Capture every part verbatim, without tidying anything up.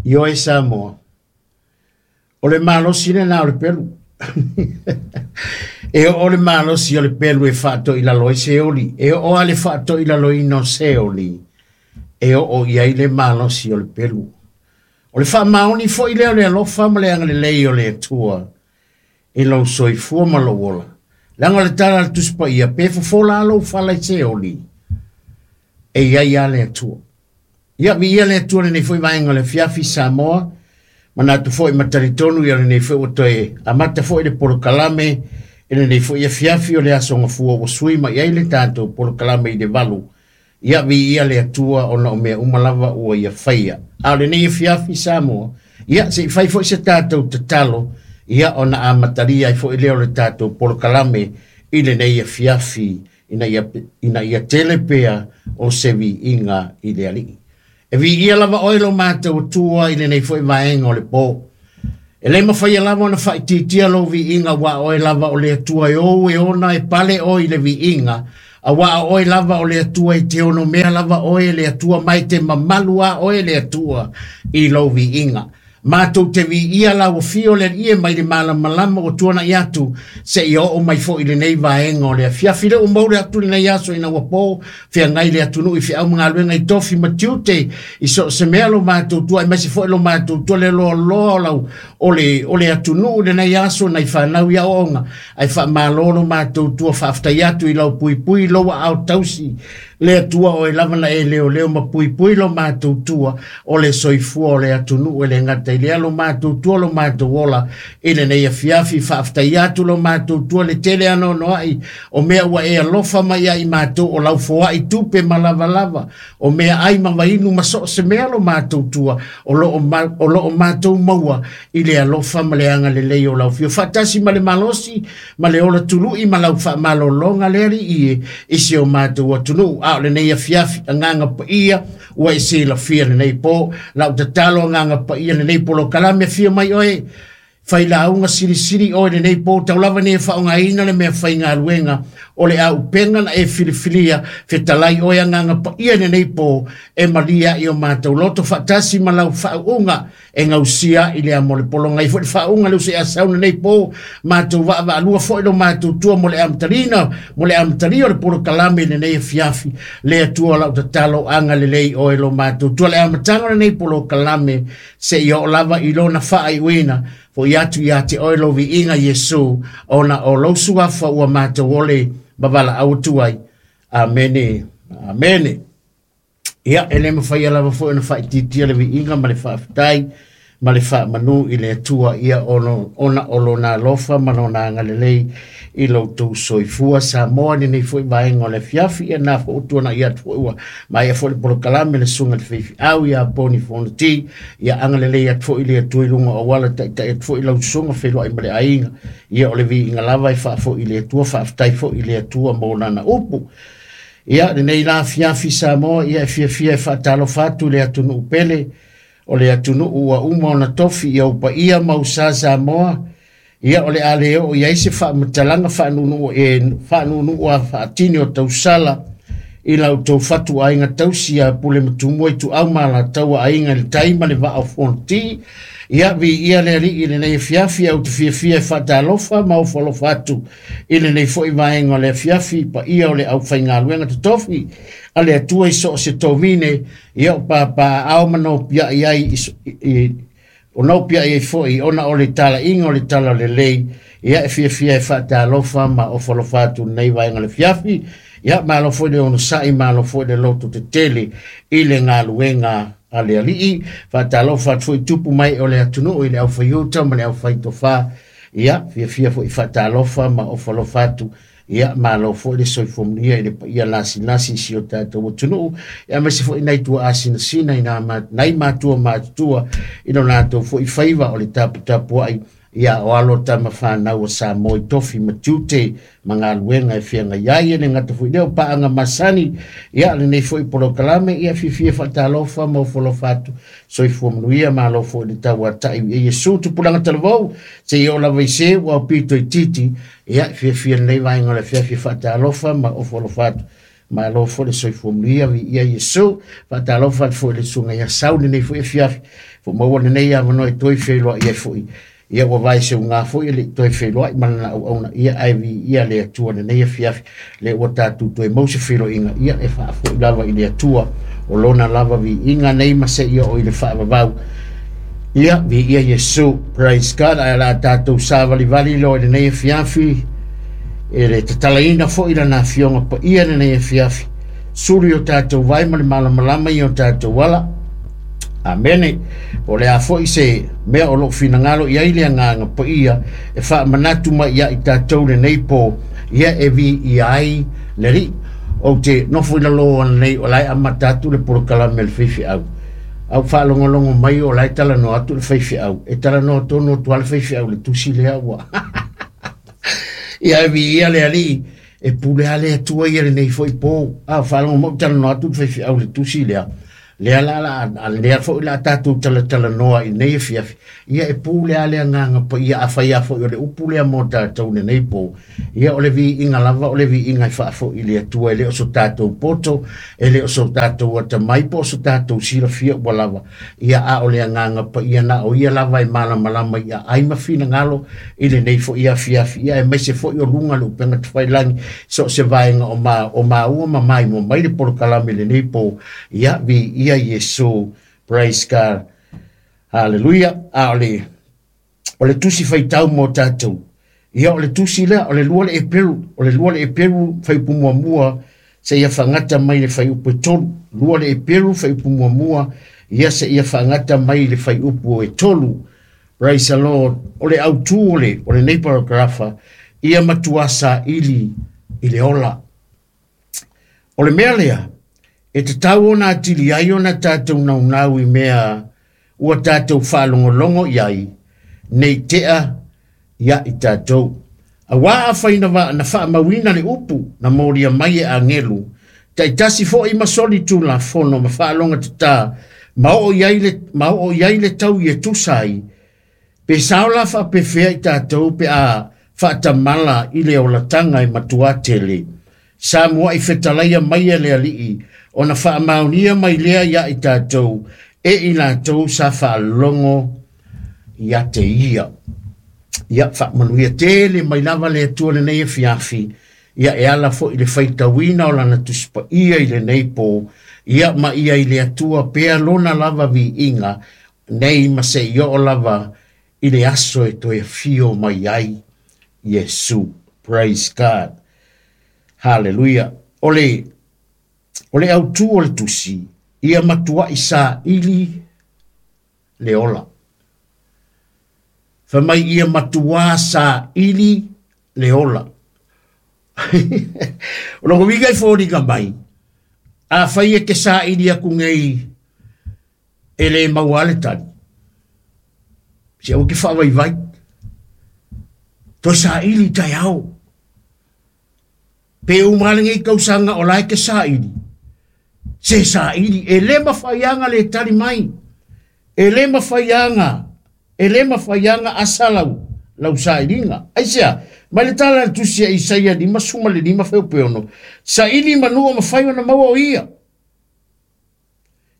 Ioe Samoa, o le malosi lena o le pelu. E o le malosi o le pelu e faatoʻi lalo ai se oli, e oo a le faatoʻi laloina o se oli, e oo i ai le malosi o le pelu. O le faamaoni foʻi lea o le alofa ma le agalelei o le Atua i lou soifua ma lou ola. Leaga o le tala a le Tusi Paia, pe fofola lou fala i se oli, e iai a le Atua. Ia viia le Atua lenei foi vaega o le afiafi Samoa, manatu foi ma talitonu ia lenei foi ua toe amata foi le polokalame i lenei foi afiafi o le aso gafua ua sui mai ai le tatou polokalame i le valu. Ia viia le Atua ona o mea uma lava ua ia faia. A o lenei afiafi Samoa, ia se i fai foi se tatou tatalo, ia ona amatalia ai foi lea o le tatou polokalame i lenei afiafi ina ia, ina ia tele pea o se viiga i le Alii. E viia lava oe lo matou Atua i lenei foi vaega o le po. E le mafai lava ona faaitiitia lou viiga ua oe lava o le Atua e ou e ona e pale oe i le viiga, auā oe lava o le Atua e te ono mea lava oe le Atua mai te mamalu a oe le Atua i lou viiga. Matou te viia lau afio le Alii e mai le malamalama ua tuanai atu seia oo mai foi lenei vaega o le afiafi. Le ua mouli atu lenei aso ina ua po feagai le atunuu i feau ma galuega i tofi ma tiute i so o se mea lo matou tua, aemaise foi lo matou tua le loaloa o lau o le o le atunuu lenei aso nai fanau i aoaoga. Ae faamalo lo matou tua, faafetai atu i lau puipui lou aao tausi le Atua oe lava na e leoleo ma puipui lo matou tua o le soifua o le atunuu e le gata i lea lo matou tua lo matou ola i lenei afiafi. Faafetai atu lo matou tua le tele anoanoai o mea ua e alofa mai ai matou o lau foai tupe ma lavalava o mea ai ma vainu ma so o se mea lo matou tua o loo ma, o loo matou maua i le alofa ma le agalelei o lau afio faatasi ma le malosi ma le ola tului ma lau faamalologa le Alii e i si o matou atunuu. A o lenei afiafi agaga paia ua e silafia lenei po lau tatalo agaga paia lenei polokalame afio mai oe failauga silisili oe lenei po taulava nei e faaaogaina le mea faigaluega o le auupega na e filifilia fetalai oe agaga paia lenei po e malia i o matou loto faatasi ma lau faauuga e gausia i le amo le pologai foi le faauuga le use asau lenei po matou vaavaalua foi lo matou tua mo le amatalina mo le amatalia o le polokalame lenei afiafi. Le Atua lau tatalo agalelei oe lo matou tua le amataga o lenei polokalame seia oo lava i lona faaiuina foi atu ia te oe lou viiga Iesu ona o lou suafa ua matou ole ma valaau atu ai. Amene, amene. Ia e le mafai lava foi ona faaitiitia le viiga ma le faafetai ma le faamanu i le Atua ia ona, ona o lona alofa ma lona agalelei i lou tou soifua Samoa lenei foi vaega o le afiafi. Ia na foi tuanai atu foi ua maea foi le polokalame le susuga i le faifeau ia Poni Fonoti. Ia agalelei atu foi le Atua i luga o auala taitai atu foi lau susuga feiloai ma le aiga. Ia o le viiga lava e faafoi i le Atua, faafetai foi i le Atua mo lana upu. Ia lenei la afiafi Samoa, ia e fiafia e faatalofa atu le atunuu pele o le atunuu ua uma ona tofi i ou paia ma usa Samoa. Ia o le a le oo i ai se faamatalaga faanunuu e faanunuu a faatini o tausala i lau tou fatuaiga tausi a Pule ma Tumua i Tuau ma Alataua Aiga i le Tai ma le Vaa o Fonoti. Ia viia le Alii i lenei afiafi, au te fiafia e faatalofa ma ofo atu i lenei foi vaega o le afiafi paia o le aufaigaluega totofi a le Atua i so o se tovine. Ia o papaao ma nopiai ai i o nopiai ai foi ona o le talaiga o le tala lelei. Ia e fiafia e faatalofa ma ofo atu lenei vaega o le afiafi. Ia malo foi le onosai, malo foi le loto tetele i le galuega a le Alii. Faatalofa atu foi tupu mai o le atunuu i le aufaiuta ma le aufaitofa. Ia fiafia foi faatalofa ma ofo atu. Ia malo foi le soifua manuia i le paia lasilasi i si o tatou atunuu, ia aemaise foi nai tua asinasina i nai matua matutua i lo latou foi faiva o le taputapuai. Ia o alo tama fanau o Samoa i tofi ma tiute ma galuega e feagai ai e le gata foi lea o paaga masani. Ia lenei foi polokalame, ia fiafia faatalofa ma ofo atu soifua manuia, malo foi le tauatai i Iesu tupulaga talavou seia oo lava i se ua pito i titi. Ia fiafia lenei vaega o le afiafi faatalofa ma ofo atu malo foi le soifua manuia viia Iesu. Faatalofa atu foi le susuga ia Sau lenei foi afiafi Fo maua lenei avanoa e toe feiloai ai foi. Ia ua vae seuga foi e le'i toe feiloai ma lana auauna ia ae viia le Atua lenei afiafi le ua tatou toe mau se feiloaiga ia e faafo'i lava i le Atua o lona lava viiga nei ma seia oo i le faavavau. Ia viia Iesu, praise God. Ae la tatou savalivali loa i lenei afiafi e le tatalaina foi lana afioga paia lenei afiafi, sulu i o tatou vai ma le malamalama i o tatou ala. Amene. O le a foi se mea o lou finagalo i ai le agaga paia e faamanatu mai ia i tatou lenei po ia e viia ai le Alii. Ou te nofo i lalo ananei o la e amata atu le polokalame a le faifeau. Au faalogologo mai o la e talanoa atu le faifeau. E talanoa tonu atu lava le faifeau i le tusi lea ua. Ia e viia le Alii e pule lava le Atua ia lenei foi po. A faalogo mai ou talanoa atu le faifeau i le tusi lea. Lea la la lea foi la tatou talatalanoa i lenei afiafi. Ia e pule lava le agaga paia afai lava foi o le upu lea mo tatou lenei po. Ia o le viiga lava o le viiga e faafoi i le Atua e le o so tatou poto, e le o so tatou atamai po o so tatou silafia ua lava. Ia a o le agaga paia na o ia lava e malamalama i aai ma finagalo i lenei foi afiafi. Ia aemaise foi o luga le upega tafailagi so o se vaega o ma o maua ma maimoa mai le polokalame i lenei po. Ia viia Iesu, praise God, hallelujah. A o le o le tusi faitau mo tatou. Ia o le tusi lea o le lua le Eperu, o le lua le Eperu fuaiupu muamua seia faagata mai le fuaiupu e tolu. Lua le Eperu fuaiupu muamua ia seia faagata mai le fuaiupu e tolu. Praise the Lord. O le autū o le o lenei paragrafa ia matua saili i le ola. O le mea lea e tatau ona atili ai ona tatou naunau i mea ua tatou faalogologo i ai nei tea ia i tatou. Auā afai na, na faamauina le upu na molia mai e agelu, taitasi foi ma soli tulafono ma faaloga tatā, ma oo i ai le, ma oo i ai le tau e tusa ai, pe sao la faapefea i tatou pe a faatamala i le olataga e matuā tele. Sa mua'i fetalaia mai e le Alii, ona faamaonia mai lea ia i tatou, e i latou sa faalogo ia te ia. Ia faamanuia tele mai lava le Atua lenei afiafi, ia e ala foi i le faitauina o lana tusi paia i lenei po, ia ma ia i le Atua pea lona lava viiga, nei ma seia oo lava i le aso e toe afio mai ai Iesu. Praise God. Hallelujah. O le o le autū o le tusi, ia matua'i saili le ola. Fai mai ia matuā saili le ola. O lona uiga e foliga mai, afai e te saili aku nei e le maua le tali, se aua ke faavaivai, toe saili i taeao. Pe uma lenei tausaga o la e te saili, se saili, e le mafaiaga le tali mai, e le mafaiaga, e le mafaiaga asa lau, lau sailiga. Aisea, mai le tala a le tusi a Isaia lima suma le lima feupeono, saili manu o mafai ona maua o ia.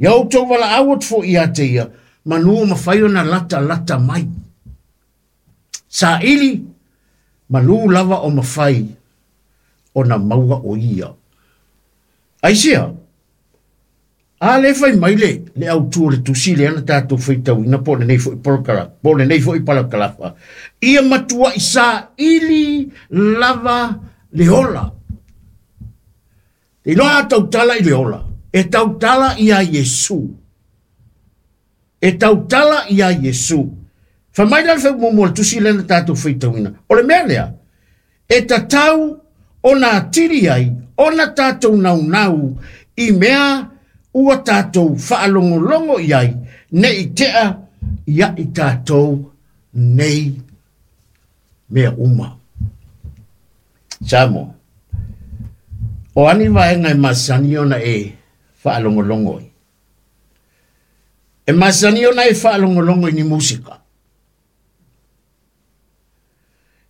Ia outou valaau atu foi ia te ia, manu o mafai ona lata lata mai. Saili, manu lava o mafai ona maua o ia. Aisea, a le fai mai le, le autū o le tusi lea na tatou faitauina po o lenei foi polokala, po o lenei foi palakalafa. Ia matua'i saili lava le ola. Te iloa a tautala i le ola, e tautala ia Iesu. E tautala ia Iesu. Fai mai la le fuaiupu muamua o le tusi lea na tatou faitauina. O le mea lea, e tatau ona atili ai, ona tatou naunau i mea ua tatou faalogologo i ai, nei tea ia i tatou nei mea uma. Samoa, o ani vaega e masani ona e faalogologo ai? E masani ona e faalogologo i ni musika.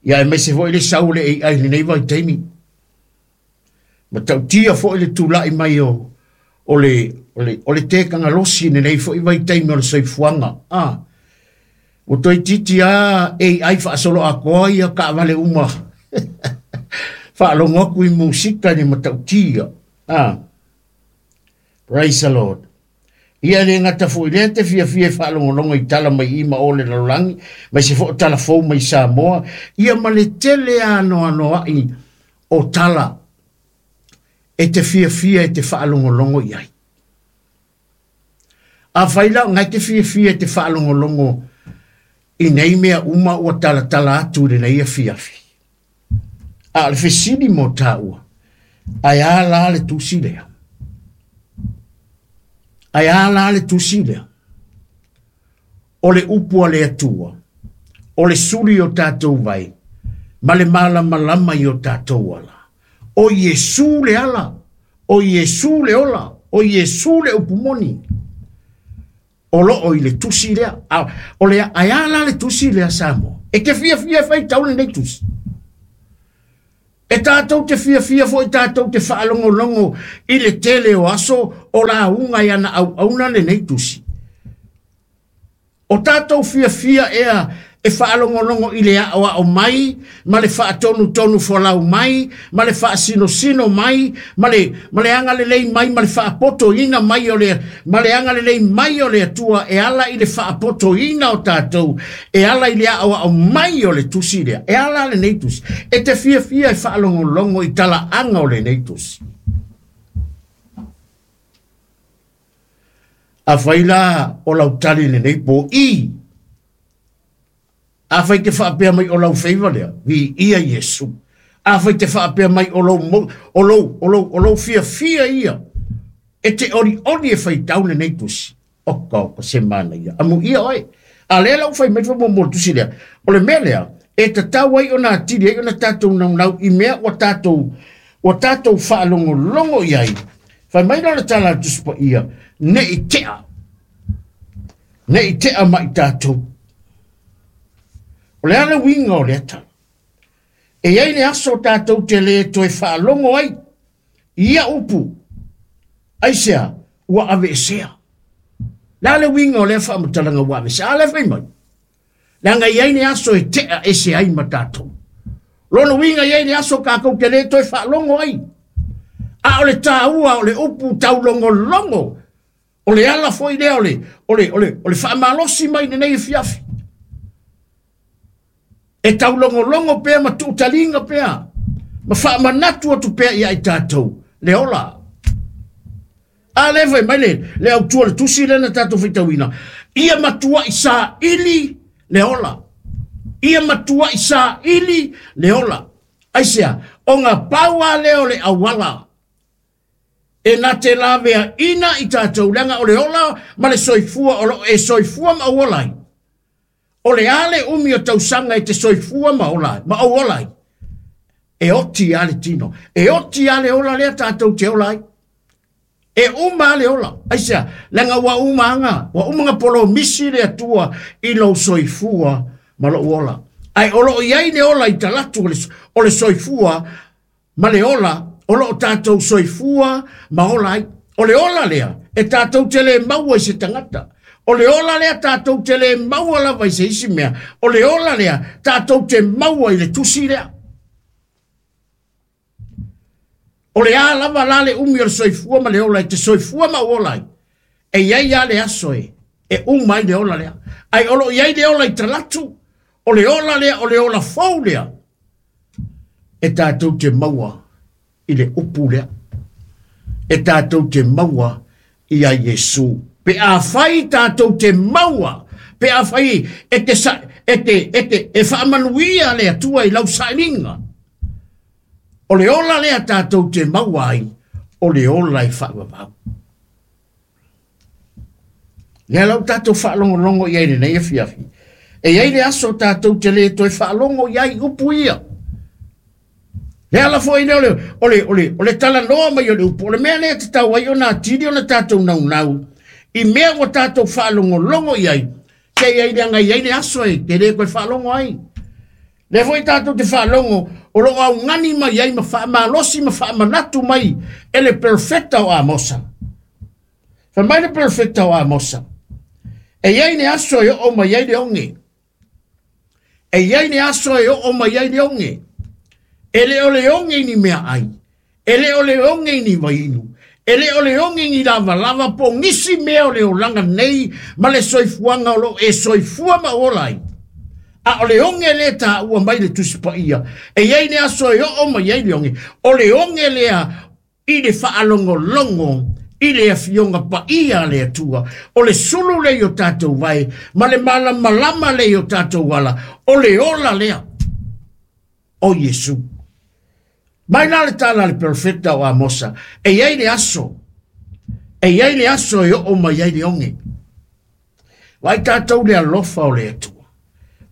Ia aemaise foi le sau o le A I i lenei vaitaimi. Ma tautia foi le tula'i mai o o le O le, o le tekangalosi lenei fo'i vaitaimi o le soifuaga. A ua toeitiiti a A I faasolo atoa ia taavale uma faalogo atu i musika i le matautia. A praise the Lord. Ia le gata fo'i lea te fiafia e faalogologo i tala mai i ma o le lalolagi mai se fo'o talafou mai Samoa ia ma le tele anoanoa'i o tala e te fiafia e te faalogologo i ai. Afai la ngai te fiafia e te faalogologo i nei mea uma ua talatala atu i lenei afiafi. A o le fesili mo tāua, ae a la le tusi lea? Ae a la le tusi lea? O le upu a le Atua, o le suli o tātou vai, ma le malamalama i o tātou ala. O Iesu le ala, o Iesu le ola, o Iesu le upu moni. O loo i le tusi lea. A, o le ae a la le tusi lea Samoa? E te fiafia e faitau lenei tusi. E tātou te fiafia fo'i tātou te faalogologo i le tele o aso o lauga i ana auauna lenei tusi. O tātou fiafia ea e faalogologo i le aoao mai, ma le faatonutonu folau mai, ma le faasinosino mai, ma le, ma le agalelei mai, ma le faapotoina mai o le, ma le agalelei mai o le Atua e ala i le faapotoina o tātou, e ala i le aoao mai o le tusi lea, e ala lenei tusi. E te fiafia e faalogologo i talaaga o lenei tusi. Afai la o lau tali lenei po i, afai te faapea mai o lau feiva lea, vi ia Iesu. Afai te faapea mai o lou, o lou, o lou, o lou fiafia ia, e te ori ori e faitau lenei tusi. Oka oka se mana ia. Amu ia oe. A lea lau fai mai fa mo tusi lea. O le mea lea, e tatau ai ona atili ai ona tātou naunau i mea ua tātou, ua tātou faalogologo i ai. Fai mai la le tala a Tusi Paia, ne i tea. Ne i tea mai tātou. O le ala uiga o lea tala. E iai le aso tātou te le toe faalogo ai. Ia upu. Aisea, ua aveesea. Le ala uiga o lea faamatalaga ua aveesea. A lea fai mai. Leaga iai le aso e tea ese ai ma tātou. Lona uiga iai le aso kākou te le toe faalogo ai. A o le tāua o le upu taulogologo. O le ala foi lea o le, o le, o le, o le faamalosi mai lenei afiafi. E taulogologo pea ma tuutaliga pea, ma faamanatu atu pea ia i tātou, le ola. A le fai mai le, le autua le tusi lea na tātou faitauina. Ia matuai saili le ola. Ia matuai saili le ola. Aisea, o ngā pau a lea o le auala. E na te lavea ina i tātou, leaga o le ola ma le soifua, o lo e soifua ma auola ai. O le ale umi o tausaga e te soifua ma ola ai, ma auola ai. E oti a le tino. E oti a le ola lea tātou te ola ai. E uma a le ola. Aisea, leaga ua uma anga, ua uma nga polo misi le Atua i lou soifua ma lou ola. Ai o loo iai le ola i talatu o le, o le soifua ma le ola, o loo tātou soifua ma ola ai. O le ola lea, e tātou te le maua i se tangata. O le ola lea tātou te le maua lava i se isi mea. O le ola lea tātou te maua i le tusi lea. O le a lava la le umi o le soifua ma le ola i te soifua ma ola ai. E iai a le aso e, e uma ai le ola lea. Ai o lo iai le ola i talatu, o le ola lea, o le ola fou lea. E tātou te maua i le upu lea. E tātou te maua i a Iesu. Pe a fai tātou te maua, pe a fai e te, sa, e te, e te, e faamanuia le Atua i lau sailiga. O le ola lea tātou te maua ai, o le ola i faavavau. Lea lau tātou faalogologo i ai lenei afiafi. E iai le aso tātou te le toe faalogo i ai upu ia. Le ala foi lea o le, o le, o le, o le talanoa mai o le upu. O le mea lea te tau ai ona atili ona tātou naunau. I mea ua tātou faalogologo i ai, se i ai le anga i ai le aso e, te le koe faalogo ai. Le foi tātou te faalogo, o loo augani mai ai ma faamalosi ma faamanatu mai e le perfecta o Amosa. Fai mai le perofeta o Amosa, e iai le aso e oo mai ai le oge. E iai le aso e oo mai ai le oge. E le o le oge i ni meaai, e le o le oge i ni vainu, e le o le oge i ni lavalava po o nisi mea o le olaga nei ma le soifuaga o loo e soifua ma ola ai. A o le oge lea taua mai le Tusi Paia, e iai le aso e oo mai ai le oge, o le oge lea i le faalogologo i le afioga paia a le Atua, o le sulu lea i o tatou vae, ma le malamalama lea i o tatou ala, o le ola lea o Iesu. Mai la le tala a le perofeta o Amosa, e iai le aso, e iai le aso e oo mai ai le oge. Vaai tatou le alofa o le Atua.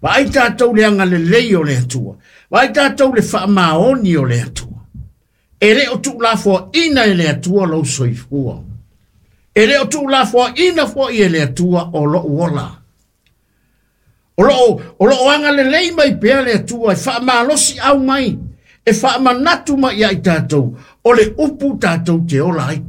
Vaai tatou le agalelei o le Atua. Vaai tatou le faamaoni o le Atua. E le o tuulafoaina e le Atua lou soifua. E le o tuulafoaina foi e le Atua o lou ola. O loo, o loo agalelei mai pea le Atua e faamalosi au mai, e faamanatu mai ia i tatou, o le upu tatou te ola ai.